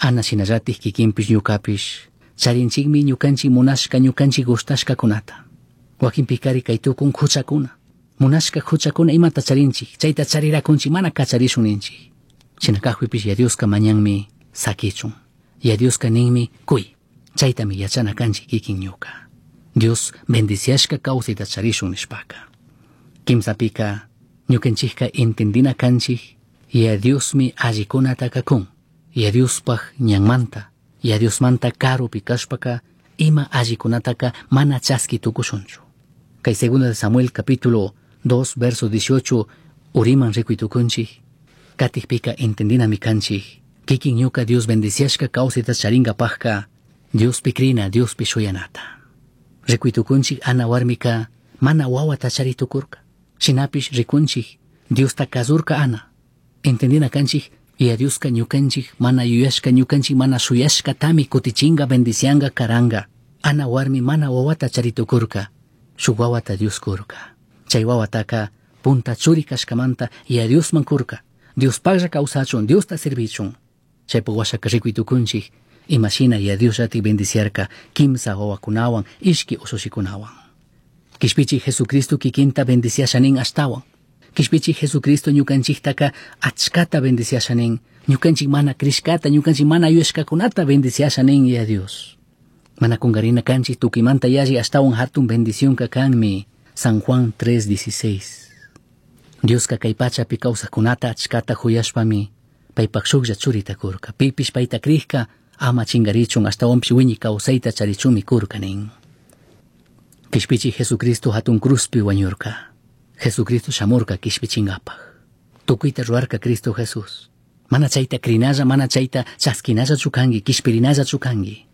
Ana shinallatik kikinpish ñukapish charinchikmi ñukanchik munashka ñukanchik gustashkakunata. Wakinpikari kay tukun huchakuna. Munashka huchakuna imata charinchik, chayta charirakunchik mana kacharishun ninchik. Shina kakpipish ya Dioska mañanmi sakichun. Ya Dioska ninmi kuy. Chaytami yachana kanchik kikin ñuka. Dios bendiciashka kawsayta charishun nishpaka. Kimsapika ñukanchikka entendina kanchik ya Diosmi allikunataka kun. Ya Diospaj ñanmanta, ya Diosmanta karupi kashpaka ima allikunataka mana chaski tukushunchu. Kay segunda de Samuel capítulo 2 verso 18 uriman rikuy tukunchik. Katikpika entendinami kanchik. Kikin ñuka Dios bendiciashka kawsayta charingapajka Diospi krina, Diospi shuyanata. Rikuy tukunchik Ana warmika mana wawata chari tukurka. Shinapish rikunchik Diosta kazurka Ana. Entendina kanchik ya Dioska ñukanchik mana yuyashka ñukanchik mana shuyashkatami kutichinga bendicianga karanga. Ana warmi mana wawata chari tukurka. Shuk wawata Dios kurka. Chay wawataka punta churi kashkamanta ya Diosman kurka. Diospaklla kawsachun, Diosta servichun. Chaypuk washaka rikuy tukunchik imashina ya Dios llatik bendiciarka kimsa wawakunawan ishki ushushikunawan. Kishpichi Jesucristo kikinta bendiciasha nin ashtawan. Kishpichi Jesucristo ñukanchiktaka achkata bendiciasha nin. Ñukanchik mana krishkata, ñukanchik mana yuyashkakunata bendiciasha nin ya Dios. Mana kungarina kanchik tukimanta yalli ashtawan hatun bendicionka kanmi. San Juan 3:16. Dioska kay pachapi kawsaqkunata achkata huyashpami paypak shuklla churita kurka. Pipish payta krikka ama chingarichun ashtawanpish wiñi kawsayta charichunmi kurka nin. Kishpichi Jesucristo hatun cruzpi wañurka. Jesucristo shamurka kishpichingapaj. Tukuyta ruwarka Cristo Jesús. Mana chayta krinalla, mana chayta chaskinallachu kanki, kishpirinallachu kanki.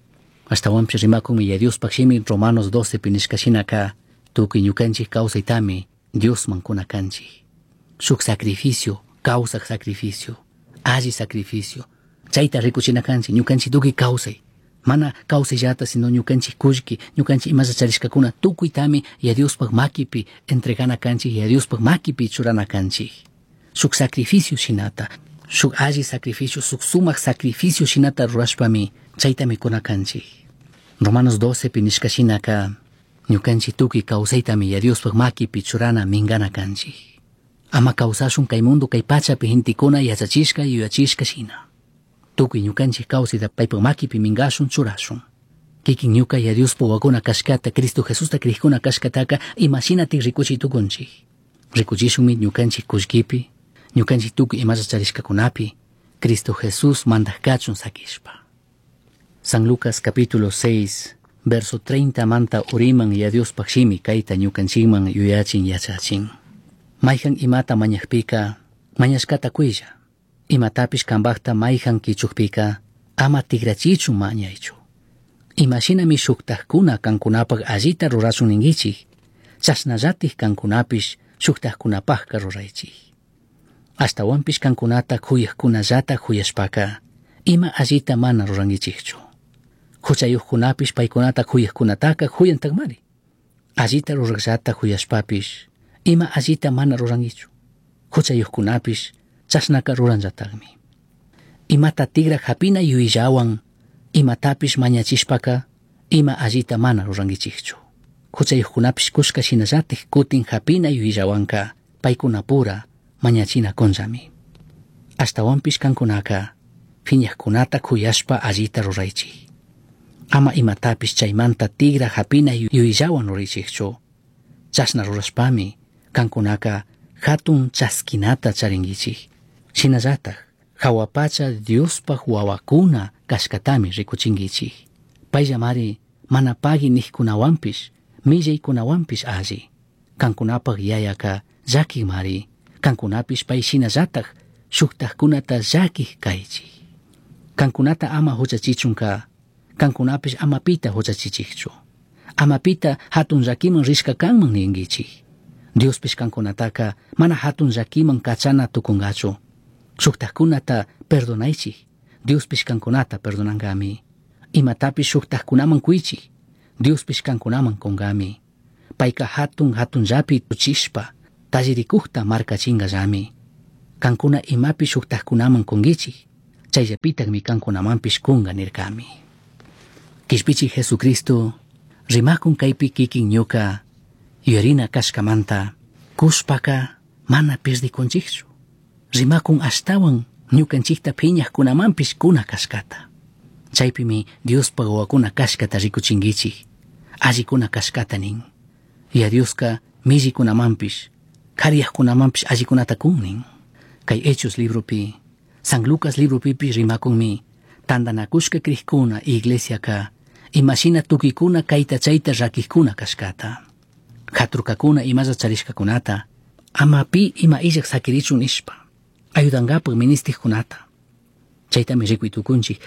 Ashtawanpish rimakunmi ya Diospaj shimi Romanos 12 pi nishka shinaka tukuy ñukanchik kawsaytami Diosman kuna kanchik. Shuk sacrificio, kawsaq sacrificio, alli sacrificio. Chayta rikuchina kanchik, ñukanchik tukuy kawsay. Mana kawsayllata, sino ñukanchik kullki, ñukanchik imalla charishkakuna tukuytami ya Diospaj makipi entregana kanchik, ya Diospaj makipi churana kanchik. Shuk sacrificio shinata, shuk alli sacrificio, shuk sumak sacrificio shinata rurashpami chaytami kuna kanchik. Romanos 12 pi nishka shinaka ñukanchik tukuy kawsaytami ya Diospaj makipi churana mingana kanchik. Ama kawsashun kay mundo kay pachapi gentekuna yachachishka yuyachishka shina. Tukuy ñukanchik kawsayta paypak makipi mingashun churashun. Kikin ñuka ya Diospaj wawakuna kashkata, Cristo Jesusta krikuna kashkataka imashinatik rikuchiy tukunchik. Rikuchishunmi ñukanchik kullkipi, ñukanchik tukuy imalla charishkakunapi, Cristo Jesús mandaj kachun sakishpa. San Lucas capítulo 6, verso 30 manta uriman ya Diospaj shimi kayta ñukanchikman yuyachin yachachin. Mayhan imata mañajpika, mañashkata kuylla. Imatapish kambajta mayhan kichukpika, ama tigrachichun mañaychu. Imashinami shuktajkuna kankunapaj allita rurashun ninkichik, chashnallatik kankunapish shuktajkunapajka ruraychik. Ashtawanpish kankunata kuyajkunallata kuyashpaka, ima allita mana rurankichikchu. Huchayuqkunapish paykunata kuyajkunataka kuyantakmari. Allita ruraqllata kuyashpapish, ima allita mana rurankichu. Huchayuqkunapish chashnaka ruranllatakmi. Imata tigra hapina yuyayllawan, imatapish mañachishpaka, ima allita mana rurankichikchu. Huchayuqkunapish kushka shinallatik kutin hapina yuyayllawanka paykunapura mañachina kunllami. Ashtawanpish kankunaka phiñaqkunata kuyashpa allita ruraychik. Ama imatapish chaymanta tigra hapina yuyayllawan ruraychikchu. Chashna rurashpami kankunaka hatun chaskinata charinkichik. Shinallatak jahua pacha Diospaj wawakuna kashkatami rikuchinkichik. Payllamari mana pagui nijkunawanpish, millaykunawanpish alli. Kankunapaj yayaka llakikmari, kankunapish pay shinallatak shuktajkunata llakik kaychik. Kankunata ama huchachichunka, kankunapish ama pita huchachichikchu. Ama pita hatun llakiman rishka kanman ninkichik. Diospish kankunataka mana hatun llakiman kachana tukungachu. Shuktajkunata perdonaychik, Diospish kankunata perdonankami. Imatapish shuktajkunaman kuychik, Diospish kankunaman kunkami. Payka hatun hatunllapi tuchishpa, tallirikukta markachinkallami. Kankuna imapi shuktajkunaman kunkichik, Chayllapitakmi kankunamanpish kunga nirkami. Kishpichi Jesucristo rimakun kaypi kikin ñuka yuyarina kashkamanta kushpaka mana pirdikunchikchu. Rimakun ashtawan ñukanchikta phiñaqkunamanpish kuna kashkata. Chaypimi Diospa wawakuna kashkata rikuchinkichik, allikuna kashkata nin. Ya Dioska millikunamanpish, kariyaqkunamanpish allikunata kun nin. Kay Hechos libropi, San Lucas libropipish rimakunmi tantanakushka krikuna iglesiaka imashina tukikuna kayta chayta rakikuna kashkata. Katurkakuna imalla charishkakunata, ama pi ima illak sakirichun nishpa, ayudankapak ministikkunata. Chaytami rikuy tukunchik.